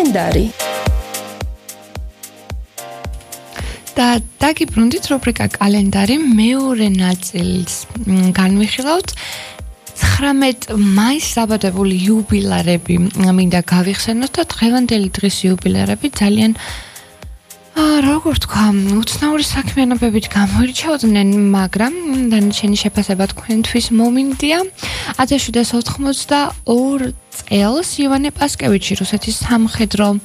კალენდარი. და დაგიბრუნდით რუბრიკა კალენდარი მეორე ნაწილს განვიხილავთ 19 მაისს დაბადებული იუბილარები მინდა გავიხსენოთ და დღევანდელი დღის იუბილარები ძალიან როგორ თქვა, უცნაური საქმიანობებით გამოირჩეოდნენ, მაგრამ დანარჩენი შეფასება თქვენთვის მომინდია. 1792 წელს ივანე პასკევიჩი, რუსეთის სამხედრო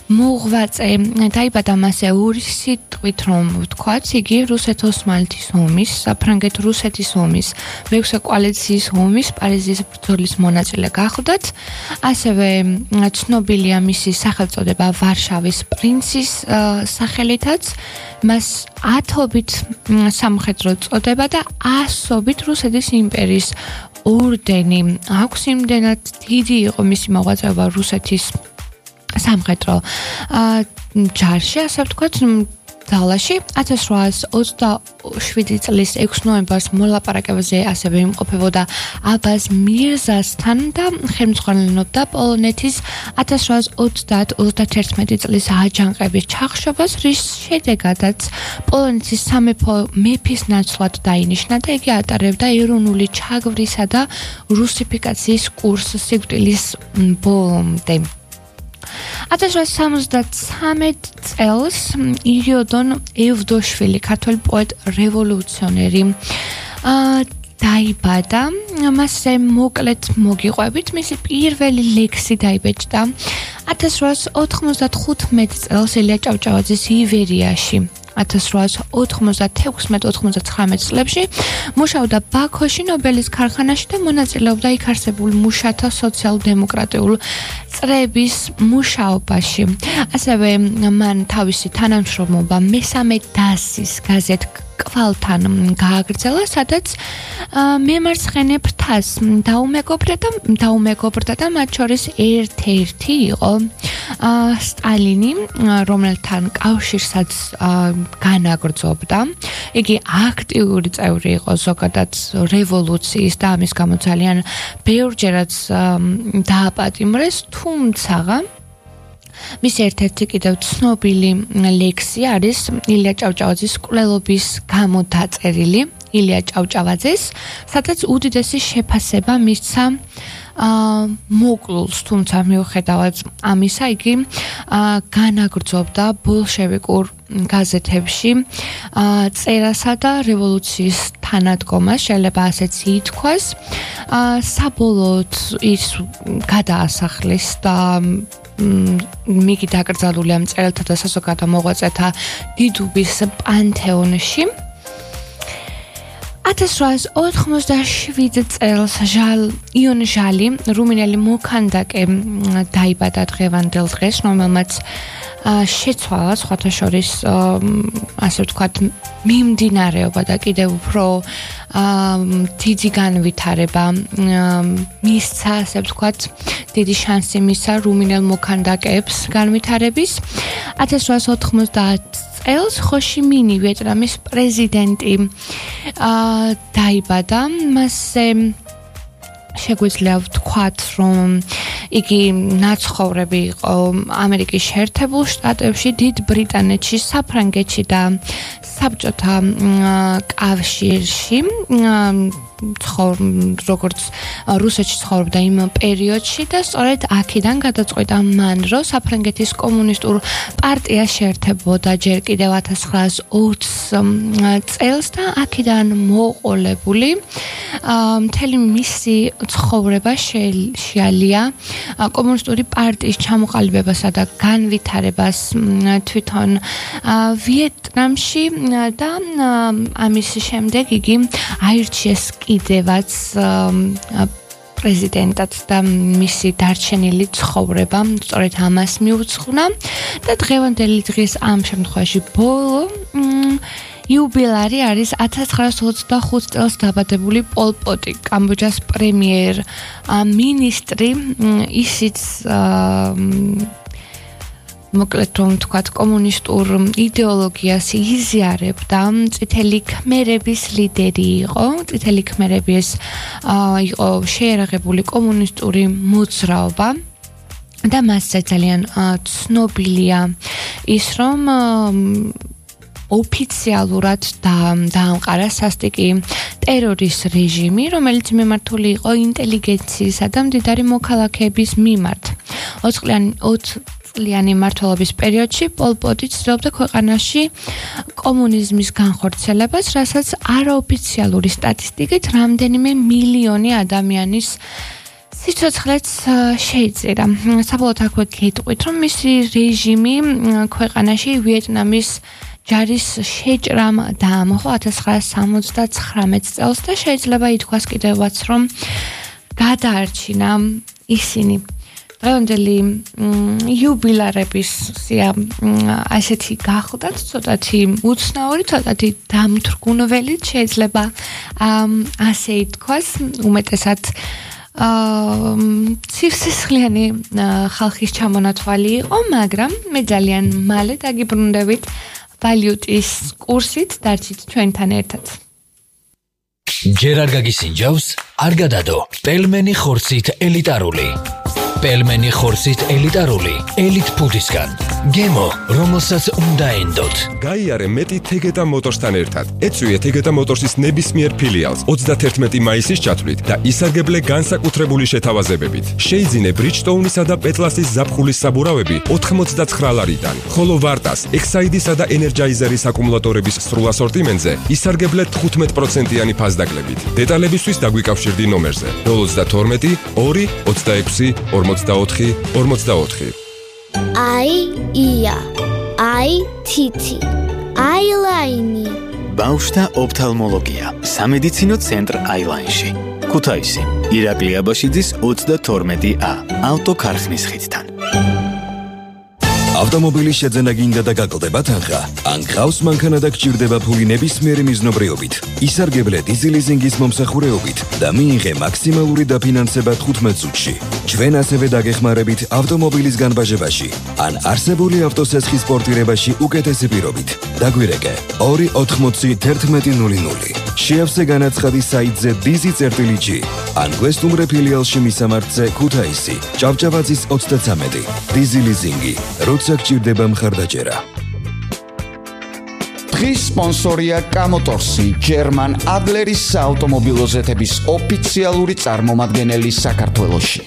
მოღვაწე, დაიბადა მასე ორი სიტყვით, რომ ვთქვათ, იგი რუსეთ-ოსმალეთის ომის, საფრანგეთ-რუსეთის ომის, მეექვსე კოალიციის ომის, პარიზის ბრძოლის მონაწილე გახლდათ. ასევე ცნობილია მისი სახელწოდება ვარშავის პრინცის სახელითაც, მას 10-ობით სამხედრო წოდება და 100-ობით რუსეთის იმპერიის ორდენი აქვს. იმდენად დიდი იყო მისი მოღვაწეობა რუსეთის სამხედრო ჯარში, ასე ვთქვათ, ძალაში. 1827 წლის 6 ნოემბერს მოლაპარაკებაზე ასევე იმყოფებოდა აბაზ მირზასთან და ხელმძღვანელობდა პოლონეთის 1831 წლის აჯანყების ჩახშობას, რის შედეგადაც პოლონეთის სამეფო მეფის ნაცვლად დაინიშნა და იგი ატარებდა ეროვნული ჩაგვრისა და რუსიფიკაციის კურსს სიკვდილის ბოლომდე. 1873 წელს ირიოდონ ევდოშვილი, ქართველი პოეტ რევოლუციონერი, დაიბადა. მასზე მოკლედ მოგიყვებით, მისი პირველი ლექსი დაიბეჭდა 1895 წელს ელია ჭავჭავაძის ივერიაში. 1896-99 წლებში მუშაობდა ბაქოში ნობელის ქარხანაში და მონაწილეობდა იქ არსებულ მუშათა სოციალ-დემოკრატიულ წრების მუშაობაში. ასევე მან თავისი თანამშრომლობა მესამე დასის გაზეთ კვალთან გააგრძელა, სადაც მემარცხენე ფრთას დაუმეგობრდა და მათ შორის ერთ-ერთი იყო სტალინი, რომელთან კავშირსაც განაგრძობდა. იგი აქტიური წევრი იყო ზოგადად რევოლუციის და ამის გამო ძალიან ბევრჯერაც დააპატიმრეს, თუმცა მის ერთ-ერთი კიდევ ცნობილი ლექსი არის ილია ჭავჭავაძის კვლელობის გამო დაწერილი ილია ჭავჭავაძეს, სადაც უდიდესი შეფასება მისცა მოკლულს, თუმცა მიუხედავად ამისა იგი განაგრძობდა ბოლშევიკურ გაზეთებში წერასა და რევოლუციის თანადგომას, შეიძლება ასეც ითქვას. საბოლოოდ ის გადაასახლეს და მიგი დაკრძალულია მწერალთა და საზოგადო მოღვაწეთა დიდუბის პანთეონში. 1887 წელს იონ ჟალი, რუმინელი მოქანდაკე, დაიბადა დღევანდელ დღეს, რომელმაც შეცვალა სხვათა შორის ასე ვთქვათ მიმდინარეობა და კიდევ უფრო დიდი განვითარება მისცა, ასე ვთქვათ, დიდი შანსი მისცა რუმინელ მოქანდაკეებს განვითარების. 1890 წელს ხოშიმინი, ვიეტნამის პრეზიდენტი, დაიბადა. მასზე შეგვიძლია ვთქვათ, რომ იგი ნაცხოვრები იყო ამერიკის შეერთებულ შტატებში, დიდ ბრიტანეთში, საფრანგეთში და საბჭოთა კავშირში, როგორც რუსეთში ცხოვრობდა იმ პერიოდში და სწორედ აქედან გადაწყვიტა მან, რომ საფრანგეთის კომუნისტურ პარტიას შეერთებოდა ჯერ კიდევ 1920 წელს და აქედან მოყოლებული მთელი მისი ცხოვრება შეალია კომუნისტური პარტიის ჩამოყალიბებასა და განვითარებას თვითონ ვიეტნამში და ამის შემდეგ იგი აირჩიეს კიდევაც პრეზიდენტად და მისი დარჩენილი ცხოვრება სწორედ ამას მიუძღვნა და დღევანდელი დღის ამ შემთხვევაში ბოლო იუბილარი არის 1925 წელს დაბადებული პოლ პოტი, კამბოჯას პრემიერ მინისტრი, ისიც მოკლედ რომ თქვათ კომუნისტურ იდეოლოგიას იზიარებდა, წითელი ქმერების ლიდერი იყო. წითელი ქმერების იყო შეერაღებული კომუნისტური მოძრაობა. და მასზე ძალიან ცნობილია ის, რომ ოფიციალურად დაამყარა სასტიკი ტერორის რეჟიმი, რომელიც მიმართული იყო ინტელიგენციისა და მდიდარი მოქალაქეების მიმართ. 20 წლიანი მმართველობის პერიოდში პოლ პოტი ცდილობდა ქვეყანაში კომუნიზმის განხორციელებას, რასაც არაოფიციალური სტატისტიკით რამდენიმე მილიონი ადამიანის სიცოცხლეც შეიწირა. საბოლოოდ აქვე გეტყვით, რომ მისი რეჟიმი ქვეყანაში ვიეტნამის ჯარის შეჭრამ დაამხო 1979 წელს და შეიძლება ითქვას კიდევაც, რომ გადაარჩინა ისინი დღევანდელი იუბილარების სია ასეთი გახლდათ, ცოტათი უცნაური, ცოტათი დამთრგუნველი, შეიძლება ასე ითქვას, უმეტესად ცივსისხლიანი ხალხის ჩამონათვალი იყო, მაგრამ მე ძალიან მალე დაგიბრუნდებით ვალიუტის კურსით, დარჩით ჩვენთან ერთად. ჯერ არ გაგისინჯავს, არ გადადო. პელმენი ხორცით ელიტარული. პელმენი ხორცით ელიტარული, ელიტ ფუდისგან. გემო, რომელსაც უნდა ენდოთ. გაიარე მეტი თეგეტა მოტორსთან ერთად. ეწვიე თეგეტა მოტორსის ნებისმიერ ფილიალს 31 მაისის ჩათვლით და ისარგებლე განსაკუთრებული შეთავაზებებით. შეიძინე ბრიჯსტოუნისა და პეტლასის ზაფხულის საბურავები 89 ლარიდან, ხოლო ვარტას, ექსაიდისა და ენერჯაიზერის აკუმულატორების სრულ ასორტიმენტზე ისარგებლე 15%-იანი ფასდაკლებით. დეტალებისთვის დაგვიკავშირდი ნომერზე 032 2 26 44 44. ია, თითი, აილაინი. ბავშვთა ოფთალმოლოგია, სამედიცინო ცენტრ აილაინში. ქუთაისი, ირაკლი აბაშიძის 32A, ავტოქარხნის ხიდთან. ავტომობილის შეძენა გინდა და გაკლდება თანხა, ან გყავს მანქანა და გჭირდება ფული ნებისმიერი მიზნობრიობით. ისარგებლე დიზელიზინგის მომსახურეობით და მიიღე მაქსიმალური დაფინანსება 15 წუთში. ჩვენ ასევე დაგეხმარებით ავტომობილის განბაჟებაში, ან არსებული ავტოსესხის პორტირებაში უკეთესი პირობით. დაგვირეკე 280 შეავსე განაცხადი საიტზე dizi.g, ან გვესტუმრე ფილიალში მისამართზე ქუთაისი, ჭავჭავაძის 33. დიზელიზინგი, როცა გჭირდება მხარდაჭერა. დღის სპონსორია კამოტორსი, ჯერმან ადლერის საავტომობილო ზეთების ოფიციალური წარმომადგენელი საქართველოში.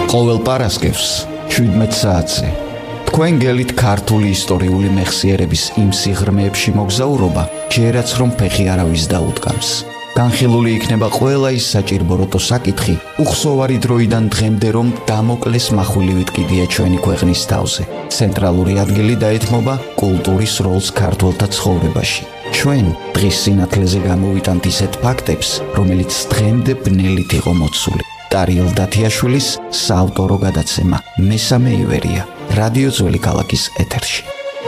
ყოველ პარასკევს 17 საათზე თქვენ გელით ქართული ისტორიული მეხსიერების იმ სიღრმეებში მოგზაურობა, ჯერაც რომ ფეხი არავის დაუდგამს. განხილული იქნება ყველა ის საჭირბოროტო საკითხი, უხსოვარი დროიდან დღემდე რომ დამოკლეს מחვილივით კიდია ჩვენი ქვეყნის თავზე. ცენტრალური ადგილი დაეთმობა კულტურის როლს ქართველთა ცხოვრებაში. ჩვენ დღის სინათლეზე გამოვიტანთ ისეთ ფაქტებს, რომელიც დღემდე ბნელით იყო მოცული. ტარიელ დათიაშვილის საავტორო გადაცემა მესამე ივერია, რადიო ძველი ქალაქის ეთერში.